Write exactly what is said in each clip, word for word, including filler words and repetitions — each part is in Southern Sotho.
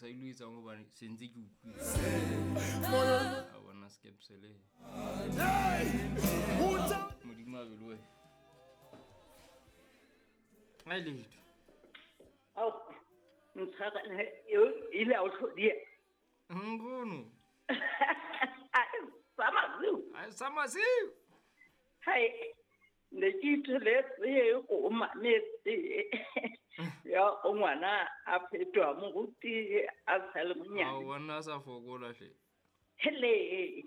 sa ilo etsang hobane se ntse ke utlwile. A bona skepsele. Modimo a be le wena. Ai letho. Ao, ntshwara ile a o tlhodia. Nkgono. Sa masiu. Ai sa masiu. Hai, ne ke itholetse go mametse. Ya o ngwana a fetoha moruti a sa le monyane. Ao bona a sa fokola hle. Hele.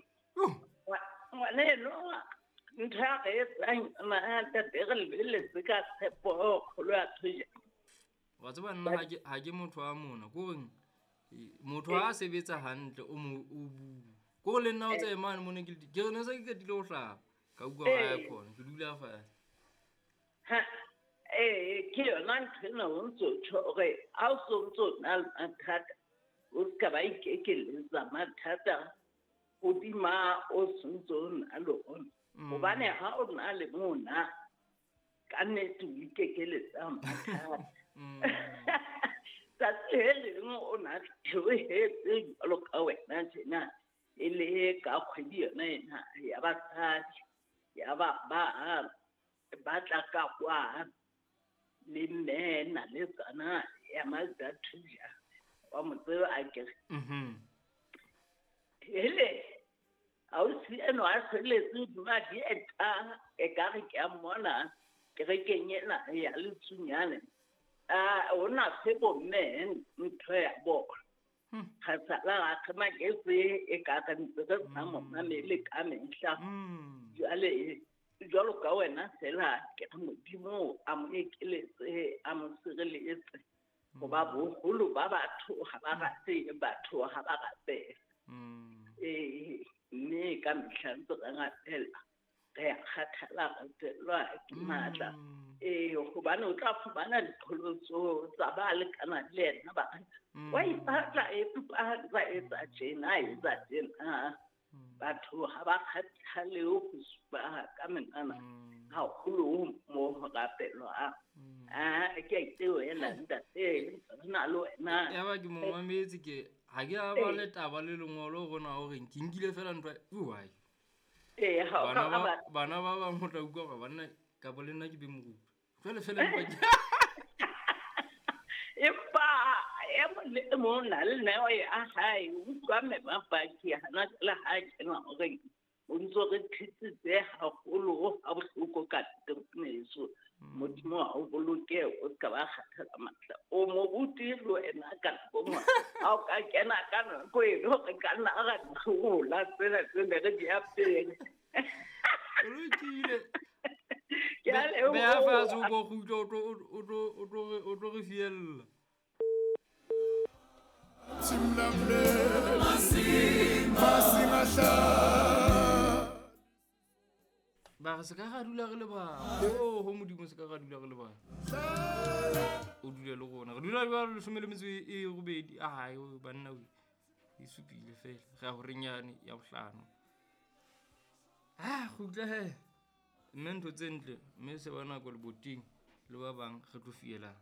Ngwana enwa ntho ya re etsang yona ntate re lebeletse ka tshepo kgolo ya thuja. Wa tseba nna ha ke ha ke motho wa mona, ko reng motho ha a sebetsa hantle o mo o bua. Ko le nna o tseye mane mo ne ke ke re ne se ke qetile ho hlapa. Ka utlwa ba ya khona, ke dula fatshe. Ha eh ke yona ntho ena o ntso tjho hore ha o so ntso na le mathata, o ska ba ikekeletsa mathata hodima o sentse o na le ona. Hobane ha o na le mona ka nnete o ikekeletsa mathata. Tsatsi le leng o na theohetse jwalo ka wena tjena, e le ka kgwedi yona ena ya basadi, ya ba ba ba tla ka kwa le mme na le tsana ya Mazda Thuja wa mo tseba akere. Mhm. Hele, ausi enwa a hlweletse hodima dieta, ekare ke a mmona kerekeng ena ya Letsunyane. Ah, o na fe bomme ntho ya bona. Ga sala ra kgemaketse e ka re ntse re sa mo mamele ka mehla. Jwale jwalo ka wena fela ke re Modimo a mo ekeletse, a mo sireletse. Hoba boholo ba batho ha ba rate batho ha ba rapele. Eh, mme ka mehla ntse re rapela, re a kgathala, re fellwa ke matla. Eh, hobane o tla fumana diqholotso tsa ba lekanang le yena ba re, wa ipatla empa ba etsa tjena, etsa tjena. Batho ha ba kgathale ho supa ka menwana haholo mo ho rapelwang. Ah, ke a itewela ntate, re na le wena. Ya ba ke mo mametse ke ha ke a ba le taba le lengolo rona hore ke nkile fela ntwa why. Eh, ha Bana ka ba ba bana ba bang ho tla utlwa hore banna ka bo le nna ke be moruti. Jwale fela empa ke Empa e mong le e mong na le neo ya hae, o utlwa mme mapaki hana jwale ha kena hore o ntso re thetsitse haholo ha bohloko ka teng. Modimo a o boloke, o ska ba kgathala matla. O moruti le wena ka nako e nngwe, ha o ka kena ka nako eno re ka nna ra di hlola tsena tse ne re di apere. O lokile. Ke a leboha. Beha fatshe o bo kgutle, o tlo o tlo o tlo o tlo re fiella. Ba re se ka ra dula re le bang. Oh, ho Modimo se ka ra dula re le bang. O dule le rona. Re dula jwalo leshome le metso e robedi. Ai, banna o e supile fela. Re ya horeng yane ya bohlano. Ah, kgutla he. Mme ntho tse ntle, mme se ba nako leboting le ba bang re tlo fielang.